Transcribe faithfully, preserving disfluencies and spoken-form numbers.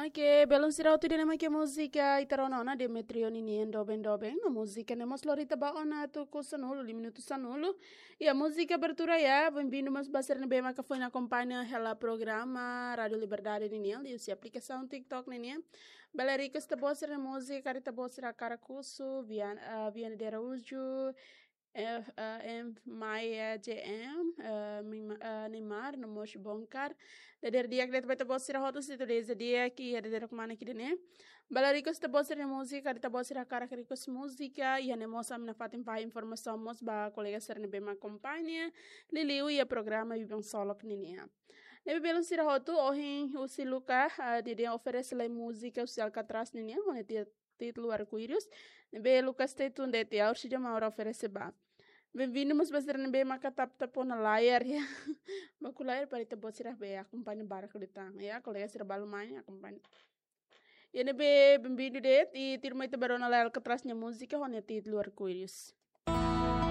Oke, belun sira hotu, ida-ne'e mak múzika ita rona ona Demetrio ninian Doben Doben, no múzika ne'e mós lori ita ba ona tuku sanulu, lima minutu sanulu. Iha múzika abertura ya, bem-vindo mós ba sira ne'ebé maka foin akompaña hela programa Rádio Liberdade ninian, liuhusi aplikasaun TikTok ninian. Bele request ita-boot sira-nia múzika, karik ita-boot sira hakarak husu, Vian-, ah, Viana de Araújo, eh, eh, em Maia J M, eh, Mima-, eh, Neymar, no mós Bonkar. Dadeer di'ak de'it ba ita-boot sira hotu, sei atu dezeja di'ak iha dadeer kmanek ida-ne'e. Bele request ita-boot sira-nia múzika, karik ita-boot sira hakarak request múzika, iha ne'e mós ami nafatin fahe informasaun mós ba kolega sira ne'ebé mak akompaña, liuliu iha programa Biban Solok ninian. Ne'ebé belun sira hotu, ohin husi Luca, ah, nia dehan oferese lai múzika husi Alcatraz ninian, ho nia ti-, títulu Arco-Íris. Ne'ebé Luca stay tuned de'it ya, orsida mak ha'u oferese ba. Bem-vindo mós ba sira ne'ebé maka tap-tap ona layar ya. Baku layar para ita-boot sira bele akompaña barak liután ya, kolega sira balu mai akompaña. Iha ne'ebé bem-vindo de'it, i tuirmai ita bá rona lai Alcatraz nia múzika ho nia títulu Arco-Íris.